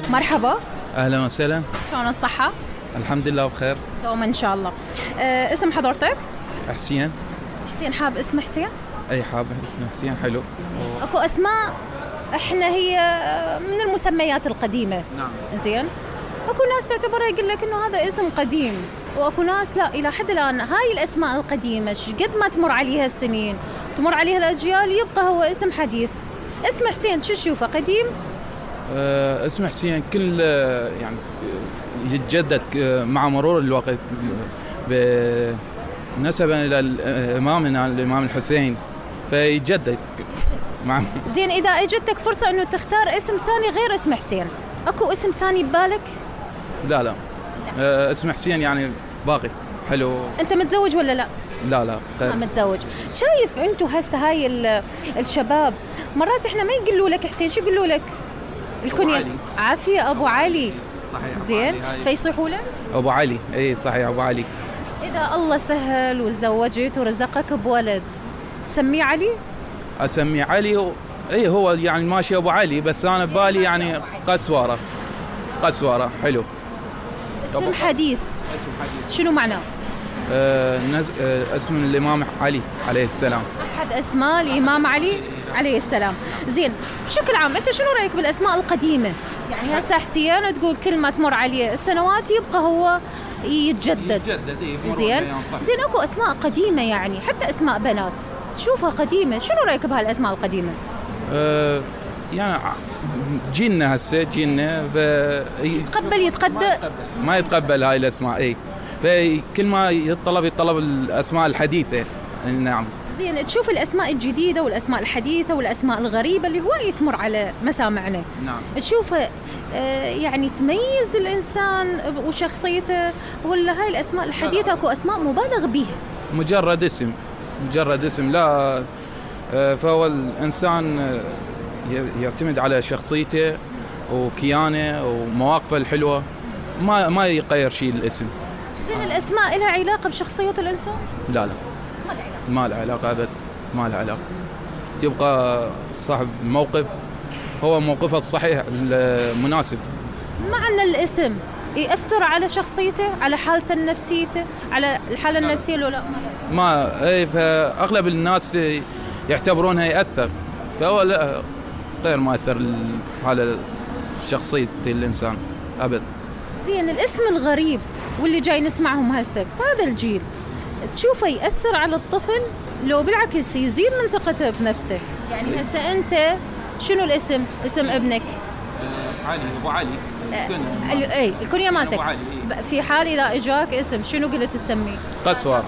مرحبا. اهلا وسهلا. شلون الصحة؟ الحمد لله بخير. دوما ان شاء الله. اسم حضرتك؟ حسين. حسين، حاب اسم حسين؟ اي حاب اسم حسين حلو. اكو اسماء احنا هي من المسميات القديمة. نعم. زين. اكو ناس تعتبرها يقول لك انه هذا اسم قديم، واكو ناس لا، الى حد الان هاي الاسماء القديمة قد ما تمر عليها السنين تمر عليها الاجيال يبقى هو اسم حديث. اسم حسين شو تشوفه قديم؟ اسم حسين كل يعني يتجدد مع مرور الوقت نسبا الى امامنا الامام الحسين فيتجدد مع. زين، اذا اجتك فرصة انه تختار اسم ثاني غير اسم حسين، اكو اسم ثاني ببالك؟ لا اسم حسين يعني باقي حلو. انت متزوج ولا لا؟ لا ما متزوج. شايف انتو هسه هاي الشباب مرات احنا ما يقولوا لك حسين، شو يقولوا لك؟ الكنية. عافية ابو علي. صحيح. زين، فيصيحوا لك ابو علي. اي صحيح ابو علي. اذا الله سهل وتزوجت ورزقك بولد تسميه علي؟ اسميه علي. اي هو يعني ماشي ابو علي، بس انا ببالي يعني قسوره حلو. اسم حديث. اسم حديث شنو معناه؟ اسم الامام علي عليه السلام. احد اسماء الامام علي عليه السلام. زين، بشكل عام انت شنو رايك بالاسماء القديمه؟ يعني هسه حسين تقول كل ما تمر عليه السنوات يبقى هو يتجدد. زين اكو اسماء قديمه يعني حتى اسماء بنات تشوفها قديمه، شنو رايك بهالاسماء القديمه؟ يعني جيلنا هسه جيلنا يتقبل ما يتقبل هاي الاسماء. اي فكل ما يتطلب الاسماء الحديثه. نعم. زين، تشوف الاسماء الجديده والاسماء الحديثه والاسماء الغريبه اللي هواي تمر على مسامعنا. نعم. تشوفها يعني تميز الانسان وشخصيته، ولا هاي الاسماء الحديثه اكو اسماء مبالغ بيها؟ مجرد اسم لا. فهو الانسان يعتمد على شخصيته وكيانه ومواقفه الحلوه، ما يغير شيء الاسم. زين، الاسماء لها علاقه بشخصيه الانسان؟ لا ما لها علاقه ابد، ما لها علاقه. تبقى صاحب الموقف هو موقفه الصحيح المناسب. مع ان الاسم يأثر على شخصيته، على حالته النفسية، على الحالة النفسية لو لا؟ ما اي، فاغلب الناس يعتبرونها يأثر، فهو لا، غير ما أثر على شخصية الإنسان أبد. زين، الاسم الغريب واللي جاي نسمعهم هسه بهذا الجيل تشوفه يأثر على الطفل لو بالعكس يزيد من ثقته بنفسه؟ يعني هسه أنت شنو الاسم؟ اسم ابنك؟ علي، أبو علي. الكنية مالتك. في حال إذا إجاك اسم شنو قلت تسميه؟ قسوة.